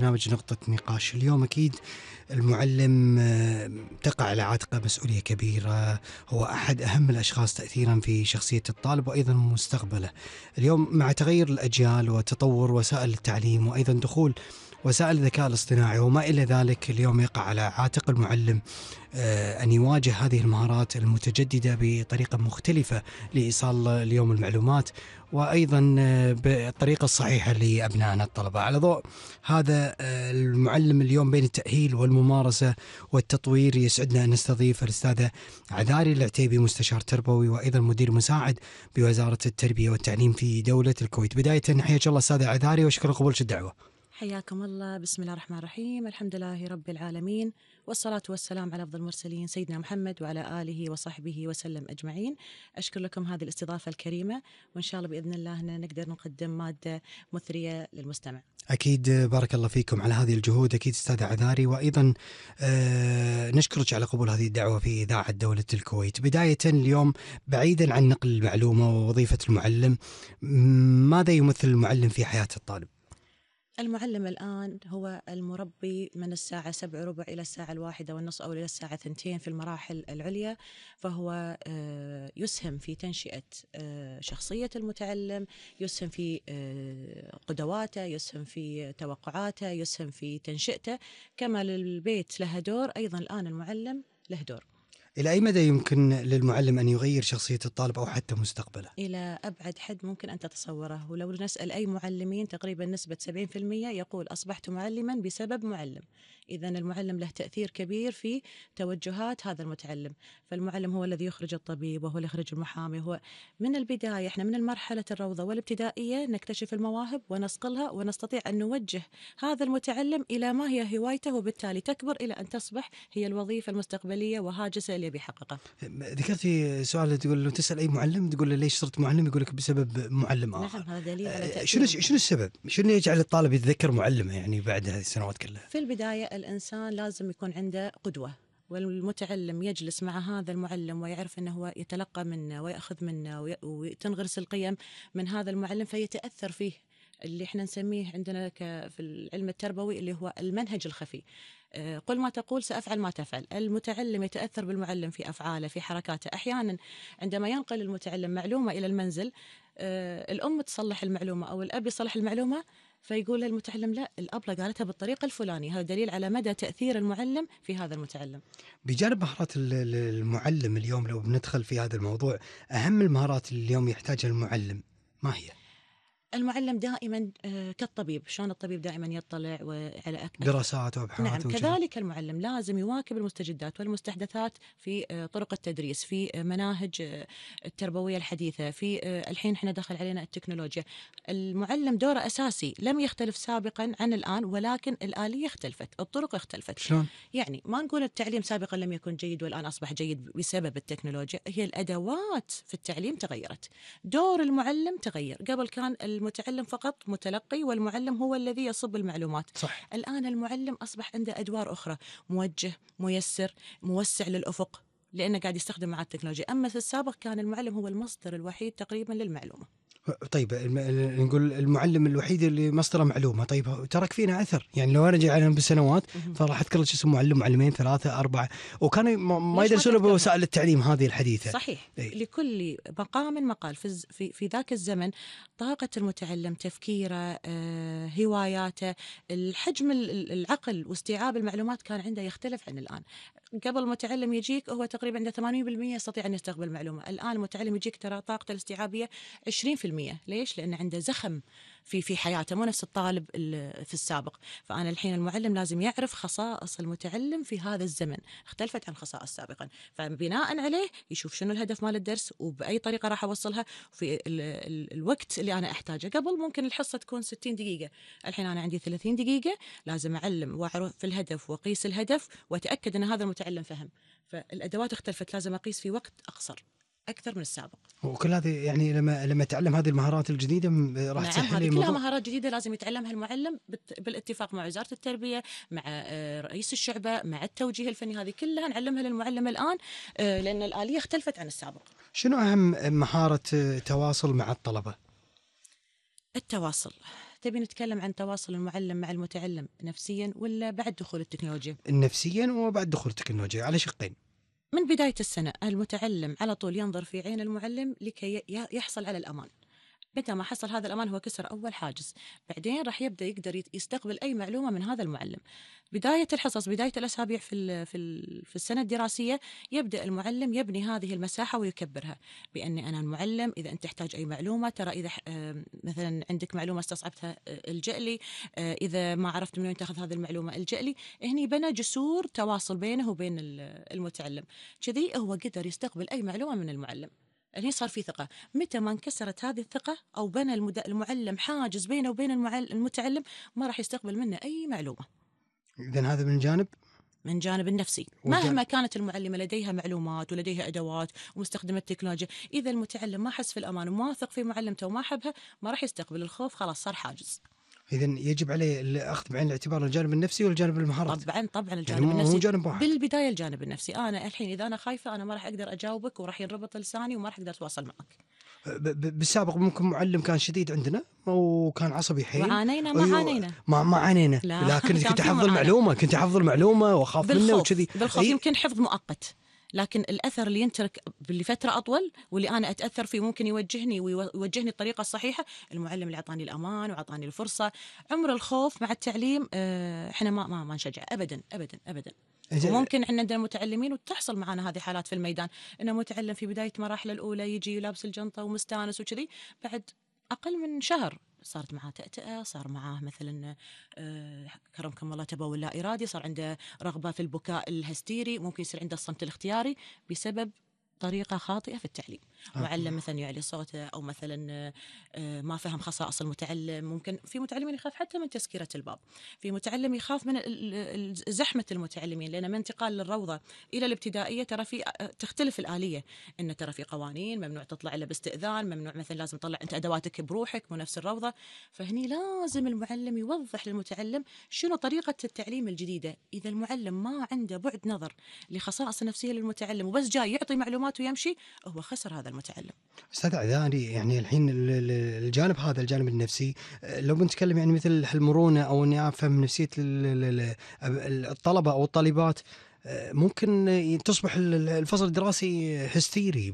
برنامج نقطة نقاش اليوم. أكيد المعلم تقع على عاتقه مسؤولية كبيرة، هو أحد أهم الأشخاص تأثيرا في شخصية الطالب وأيضا مستقبله. اليوم مع تغير الأجيال وتطور وسائل التعليم وأيضا دخول وسائل الذكاء الاصطناعي وما إلى ذلك، اليوم يقع على عاتق المعلم أن يواجه هذه المهارات المتجددة بطريقة مختلفة لإيصال اليوم المعلومات وأيضا بالطريقة الصحيحة لأبنائنا الطلبة. على ضوء هذا المعلم اليوم بين التأهيل والممارسة والتطوير، يسعدنا أن نستضيف الأستاذة عذاري العتيبي، مستشار تربوي وأيضا مدير مساعد بوزارة التربية والتعليم في دولة الكويت. بداية حياك الله أستاذة عذاري وشكرا قبولك الدعوة. حياكم الله. بسم الله الرحمن الرحيم، الحمد لله رب العالمين، والصلاة والسلام على أفضل المرسلين سيدنا محمد وعلى آله وصحبه وسلم أجمعين. أشكر لكم هذه الاستضافة الكريمة، وإن شاء الله بإذن الله نقدر نقدم مادة مثرية للمستمع. أكيد بارك الله فيكم على هذه الجهود أكيد أستاذة عذاري، وأيضا نشكرك على قبول هذه الدعوة في إذاعة دولة الكويت. بداية اليوم بعيدا عن نقل المعلومة ووظيفة المعلم، ماذا يمثل المعلم في حياة الطالب؟ المعلم الآن هو المربي من الساعة 7:15 إلى الساعة 1:30 أو إلى الساعة 2 في المراحل العليا، فهو يسهم في تنشئة شخصية المتعلم، يسهم في قدواته، يسهم في توقعاته، يسهم في تنشئته. كما للبيت له دور، أيضا الآن المعلم له دور. إلى أي مدى يمكن للمعلم أن يغير شخصية الطالب أو حتى مستقبله؟ إلى أبعد حد ممكن أن تتصوره، ولو نسأل أي معلمين تقريبا نسبة 70% يقول أصبحت معلما بسبب معلم. إذن المعلم له تأثير كبير في توجهات هذا المتعلم. فالمعلم هو الذي يخرج الطبيب، وهو اللي يخرج المحامي. هو من البداية، إحنا من المرحلة الروضة والابتدائية نكتشف المواهب ونصقلها، ونستطيع أن نوجه هذا المتعلم إلى ما هي هوايته، وبالتالي تكبر إلى أن تصبح هي الوظيفة المستقبلية وهاجسه اللي بيحققه. ذكرتي سؤال، تقول لو تسأل أي معلم تقول له ليش صرت معلم، يقول لك بسبب معلم آخر. نعم، هذا دليل على شنو السبب؟ شنو يجعل الطالب يتذكر معلمه يعني بعد هذه السنوات كلها؟ في البداية الإنسان لازم يكون عنده قدوة، والمتعلم يجلس مع هذا المعلم ويعرف أنه هو يتلقى منه ويأخذ منه وتنغرس القيم من هذا المعلم، فيتأثر فيه. اللي احنا نسميه عندنا في العلم التربوي اللي هو المنهج الخفي. قل ما تقول سأفعل ما تفعل. المتعلم يتأثر بالمعلم في أفعاله، في حركاته. أحيانا عندما ينقل المتعلم معلومة إلى المنزل، الأم تصلح المعلومة أو الأب يصلح المعلومة، فيقول المتعلم لا، الأبلة قالتها بالطريقة الفلانية. هذا دليل على مدى تأثير المعلم في هذا المتعلم. بجانب مهارات المعلم اليوم، لو بندخل في هذا الموضوع، أهم المهارات اللي اليوم يحتاجها المعلم ما هي؟ المعلم دائما كالطبيب، شلون الطبيب دائما يطلع على دراسات وابحاث. نعم، كذلك المعلم لازم يواكب المستجدات والمستحدثات في طرق التدريس، في مناهج التربوية الحديثة، في الحين احنا دخل علينا التكنولوجيا. المعلم دوره أساسي، لم يختلف سابقا عن الآن، ولكن الآلية اختلفت، الطرق اختلفت. شلون؟ يعني ما نقول التعليم سابقا لم يكن جيد والآن أصبح جيد بسبب التكنولوجيا، هي الأدوات في التعليم تغيرت، دور المعلم تغير. قبل كان المتعلم فقط متلقي، والمعلم هو الذي يصب المعلومات. صح. الآن المعلم أصبح عنده أدوار أخرى، موجه، ميسر، موسع للأفق، لأنه قاعد يستخدم مع التكنولوجيا. أما في السابق كان المعلم هو المصدر الوحيد تقريبا للمعلومة. طيب نقول المعلم الوحيد اللي مصدره معلومة، طيب ترك فينا أثر. يعني لو أرجع عليهم بالسنوات فراح أذكر اسم معلم، معلمين، 3، 4، وكانوا ما يدرسون بوسائل التعليم هذه الحديثة. صحيح. لكل مقام مقال. في ذاك الزمن طاقة المتعلم، تفكيره، هواياته، الحجم العقل واستيعاب المعلومات كان عنده يختلف عن الآن. قبل المتعلم يجيك هو تقريبا عنده 80% يستطيع أن يستقبل معلومة. الآن المتعلم يجيك ترى طاقته الاستيعابية 20%. ليش؟ لأن عنده زخم في حياته، مو نفس الطالب في السابق. فأنا الحين المعلم لازم يعرف خصائص المتعلم في هذا الزمن، اختلفت عن خصائص سابقا، فبناء عليه يشوف شنو الهدف مال الدرس وبأي طريقة راح أوصلها في الوقت اللي أنا أحتاجه. قبل ممكن الحصة تكون 60 دقيقة، الحين أنا عندي 30 دقيقة، لازم أعلم وأعرف في الهدف وأقيس الهدف وأتأكد أن هذا المتعلم فهم. فالأدوات اختلفت، لازم أقيس في وقت أقصر أكثر من السابق. وكل هذه يعني لما تعلم هذه المهارات الجديدة راح تسهل هذه كلها مهارات جديدة لازم يتعلمها المعلم بالاتفاق مع وزارة التربية، مع رئيس الشعبة، مع التوجيه الفني. هذه كلها نعلمها للمعلم الآن، لأن الآلية اختلفت عن السابق. شنو أهم مهارة تواصل مع الطلبة؟ التواصل تبي نتكلم عن تواصل المعلم مع المتعلم نفسيا ولا بعد دخول التكنولوجيا؟ نفسيا وبعد دخول التكنولوجيا على شقين. من بداية السنة المتعلم على طول ينظر في عين المعلم لكي يحصل على الأمان. متى ما حصل هذا الأمان هو كسر أول حاجز، بعدين راح يقدر يستقبل أي معلومة من هذا المعلم. بداية الحصص، بداية الأسابيع في السنة الدراسية، يبدأ المعلم يبني هذه المساحة ويكبرها، بأني أنا المعلم إذا أنت تحتاج أي معلومة، ترى إذا مثلا عندك معلومة استصعبتها الجأ لي، إذا ما عرفت من وين تاخذ هذه المعلومة الجأ لي. هني بنى جسور تواصل بينه وبين المتعلم، كذي هو قدر يستقبل أي معلومة من المعلم. هني صار في ثقة. متى ما انكسرت هذه الثقة أو بنى المعلم حاجز بينه وبين المتعلم، ما راح يستقبل منه أي معلومة. إذن هذا من جانب، من جانب النفسي. مهما كانت المعلمة لديها معلومات ولديها أدوات ومستخدمة التكنولوجيا، إذا المتعلم ما حس في الأمان وما واثق في معلمته وما حبها، ما راح يستقبل. الخوف خلاص صار حاجز. إذن يجب عليه الأخذ بعين الاعتبار الجانب النفسي والجانب المهارات. طبعا الجانب يعني النفسي مو جانب واحد. بالبداية الجانب النفسي. أنا الحين إذا أنا خايفة أنا ما راح أقدر أجاوبك وراح ينربط لساني وما راح أقدر أتواصل معك. بالسابق ممكن معلم كان شديد عندنا وكان عصبي حيل، وعانينا ما عانينا ما عانينا، لكن كنت أحفظ المعلومة وأخاف منه وكذي. بالخوف يمكن حفظ مؤقت، لكن الأثر اللي ينترك لفترة أطول واللي أنا أتأثر فيه ممكن يوجهني الطريقة الصحيحة. المعلم اللي أعطاني الأمان وأعطاني الفرصة. عمر الخوف مع التعليم إحنا ما نشجع أبدا أبدا أبدا. وممكن عندنا متعلمين وتحصل معنا هذه حالات في الميدان، إنه متعلم في بداية مراحله الأولى يجي لابس الجنطة ومستانس وكذي، بعد أقل من شهر صارت معاه تأتأة، صار معاه مثلا كرمكم الله تبول لا إرادي، صار عنده رغبة في البكاء الهستيري، ممكن يصير عنده الصمت الاختياري بسبب طريقة خاطئة في التعليم. معلم مثلا يعلي صوته أو مثلا ما فهم خصائص المتعلم. ممكن في متعلمين يخاف حتى من تسكيرة الباب، في متعلم يخاف من زحمة المتعلمين، لأن من انتقال للروضة إلى الابتدائية ترى في تختلف الآلية، إن ترى في قوانين ممنوع تطلع إلا باستئذان، ممنوع مثلا لازم تطلع أنت أدواتك بروحك مو نفس الروضة. فهني لازم المعلم يوضح للمتعلم شنو طريقة التعليم الجديدة. إذا المعلم ما عنده بعد نظر لخصائص النفسية للمتعلم وبس جاي يعطي معلومات ويمشي، هو خسر هذا المتعلم. أستاذ عذاري، يعني الحين الجانب هذا الجانب النفسي، لو بنتكلم يعني مثل المرونة أو إني أفهم نفسية الطلبة أو الطالبات، ممكن تصبح الفصل الدراسي هستيري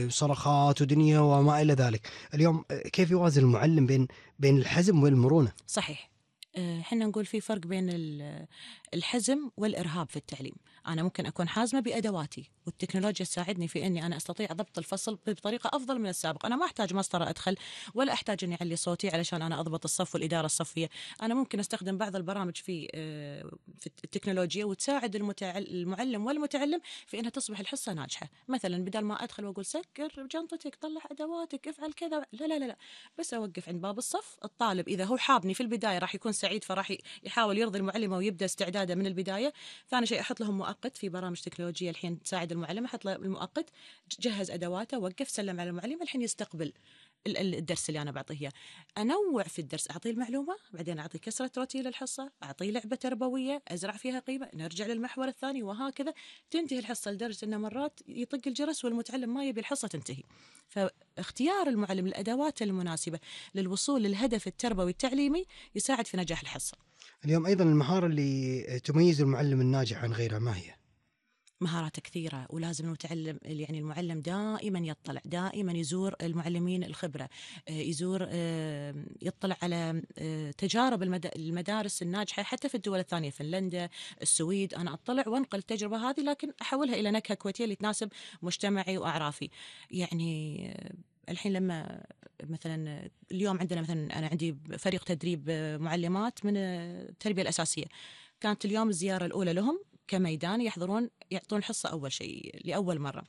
بصرخات ودنيا وما إلى ذلك. اليوم كيف يوازن المعلم بين الحزم والمرونة؟ صحيح. حنا نقول في فرق بين الحزم والإرهاب في التعليم. أنا ممكن أكون حازمة بأدواتي والتكنولوجيا تساعدني في أني أنا أستطيع ضبط الفصل بطريقة أفضل من السابق. أنا ما أحتاج مسطرة أدخل ولا أحتاج أني أعلي صوتي علشان أنا أضبط الصف والإدارة الصفية. أنا ممكن أستخدم بعض البرامج في التكنولوجيا وتساعد المعلم والمتعلم في أنها تصبح الحصة ناجحة. مثلا بدل ما أدخل وأقول سكر جنطتك، طلع أدواتك، افعل كذا، لا لا لا، بس أوقف عند باب الصف. الطالب إذا هو حابني في البداية راح يكون سعيد، فراح يحاول يرضي المعلمة ويبدأ استعداده من البداية. ثاني شيء أحط لهم مؤقت في برامج تكنولوجية الحين تساعد المعلم، أحط له المؤقت، جهز أدواته، وقف، سلم على المعلم، الحين يستقبل الدرس اللي أنا بعطيه إياه. أنوع في الدرس، أعطيه المعلومة، بعدين أعطيه كسرة روتين للحصة، أعطيه لعبة تربوية أزرع فيها قيمة، نرجع للمحور الثاني، وهكذا تنتهي الحصة، لدرجة أنه مرات يطق الجرس والمتعلم ما يبي الحصة تنتهي. فاختيار المعلم الأدوات المناسبة للوصول للهدف التربوي التعليمي يساعد في نجاح الحصة. اليوم أيضا المهارة اللي تميز المعلم الناجح عن غيره ما هي؟ مهارات كثيرة، ولازم المعلم دائما يطلع، دائما يزور المعلمين الخبرة، يطلع على تجارب المدارس الناجحة حتى في الدول الثانية، فنلندا، السويد. أنا أطلع وانقل التجربة هذه لكن أحولها إلى نكهة كويتية اللي تناسب مجتمعي وأعرافي. يعني الحين لما مثلا اليوم عندنا مثلا أنا عندي فريق تدريب معلمات من التربية الأساسية، كانت اليوم الزيارة الأولى لهم كميدان، يعطون حصة أول شيء لأول مرة.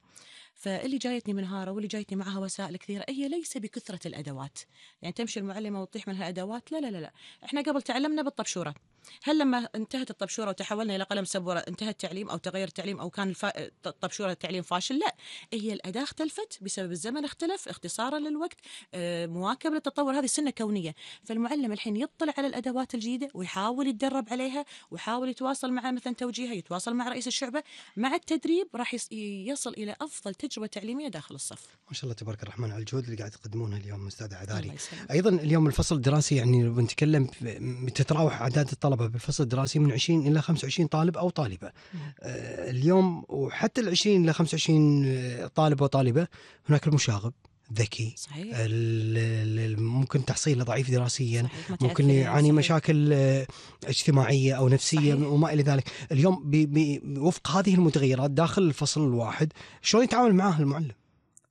فاللي جايتني منهارة واللي جايتني معها وسائل كثيرة، هي ليس بكثرة الأدوات، يعني تمشي المعلمة وتطيح منها أدوات، لا لا لا لا. إحنا قبل تعلمنا بالطبشورة، هل لما انتهت الطبشورة وتحولنا إلى قلم سبورة انتهى التعليم أو تغير التعليم أو كان الطبشورة التعليم فاشل؟ لا، هي الأداة اختلفت بسبب الزمن، اختلف اختصارا للوقت، مواكبة للتطور، هذه سنة كونية. فالمعلم الحين يطلع على الأدوات الجديدة ويحاول يتدرب عليها ويحاول يتواصل مع مثلا توجيهها، يتواصل مع رئيس الشعبة. مع التدريب راح يصل إلى أفضل تجربة تعليمية داخل الصف. ما شاء الله تبارك الرحمن على الجهود اللي قاعد تقدمونها اليوم أستاذ عذاري. الله يسلمك. أيضا اليوم الفصل الدراسي يعني لو بنتكلم تتراوح أعداد الطلبة بالفصل الدراسي من 20 إلى 25 طالب أو طالبة. اليوم وحتى ال 20 إلى 25 طالب وطالبة هناك المشاغب ذكي، صحيح. ممكن تحصيله ضعيف دراسيا، صحيح. ممكن يعاني صحيح. مشاكل اجتماعية أو نفسية. صحيح. وما إلى ذلك. اليوم وفق هذه المتغيرات داخل الفصل الواحد شلون يتعامل معاه المعلم؟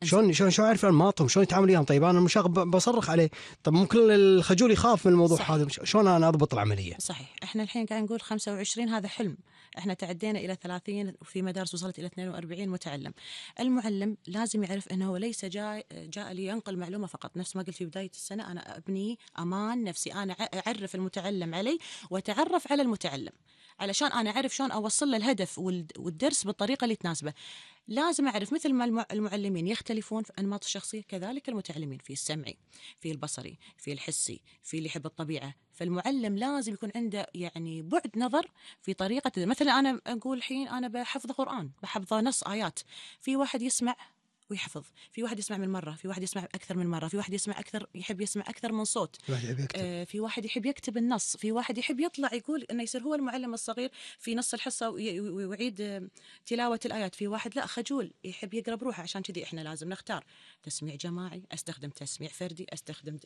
شلون يعرف انماطهم، شلون يتعامل وياهم؟ طيب انا المشاغب بصرخ عليه، طب ممكن الخجول يخاف من الموضوع. صحيح. هذا شلون انا اضبط العمليه؟ صحيح. احنا الحين قاعد نقول 25 هذا حلم، احنا تعدينا الى 30 وفي مدارس وصلت الى 42 متعلم. المعلم لازم يعرف انه هو ليس جاء لينقل معلومه فقط، نفس ما قلت في بدايه السنه، انا ابني امان نفسي، انا اعرف المتعلم علي واتعرف على المتعلم علشان انا اعرف شلون اوصل له الهدف والدرس بالطريقه اللي تناسبه. لازم أعرف مثل ما المعلمين يختلفون في أنماط الشخصية، كذلك المتعلمين في السمعي، في البصري، في الحسي، في اللي يحب الطبيعة. فالمعلم لازم يكون عنده يعني بعد نظر في طريقة. مثلا أنا أقول الحين أنا بحفظ قرآن، بحفظ نص آيات، في واحد يسمع ويحفظ، في واحد يسمع من مرة، في واحد يسمع أكثر من مرة، في واحد يسمع أكثر، يحب يسمع أكثر من صوت، في واحد يحب يكتب النص، في واحد يحب يطلع يقول إنه يصير هو المعلم الصغير في نص الحصة ويعيد تلاوة الآيات، في واحد لا خجول يحب يقرأ بروحه. عشان كذي إحنا لازم نختار تسميع جماعي، أستخدم تسميع فردي، أستخدم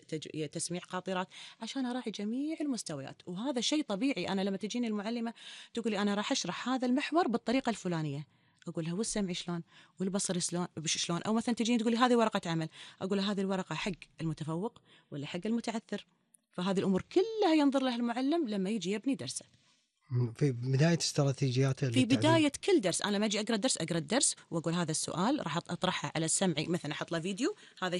تسميع قاطرات عشان أراعي جميع المستويات. وهذا شيء طبيعي. أنا لما تجيني المعلمة تقولي أنا راح أشرح هذا المحور بالطريقة الفلانية، أقول لها والسمع شلون والبصر شلون، أو مثلا تجيني تقولي هذه ورقة عمل، أقول لها هذه الورقة حق المتفوق ولا حق المتعثر. فهذه الأمور كلها ينظر لها المعلم لما يجي يبني درسه. في بداية استراتيجيات في بداية كل درس أنا لما أجي أقرأ الدرس وأقول هذا السؤال راح أطرحه على السمعي، مثلا أحط له فيديو، هذا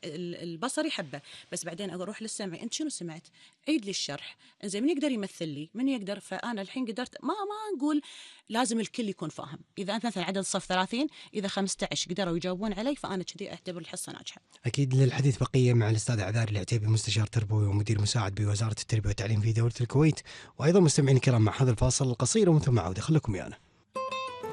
البصري يحبه، بس بعدين أروح للسمعي، أنت شنو سمعت؟ عيد لي الشرح، إنزين من يقدر يمثل لي، من يقدر. فأنا الحين قدرت ما نقول لازم الكل يكون فاهم. إذا أنت مثلا عدد الصف 30، إذا 15 قدروا يجاوبون علي فأنا كذي أعتبر الحصة ناجحة. أكيد. للحديث بقية مع الأستاذ عذاري العتيبي، مستشار تربوي ومدير مساعد بوزارة التربية والتعليم في دولة الكويت. وأيضا مستمعين الكرام مع هذا الفاصل القصير ومن ثم عودة، خليكم ويانا.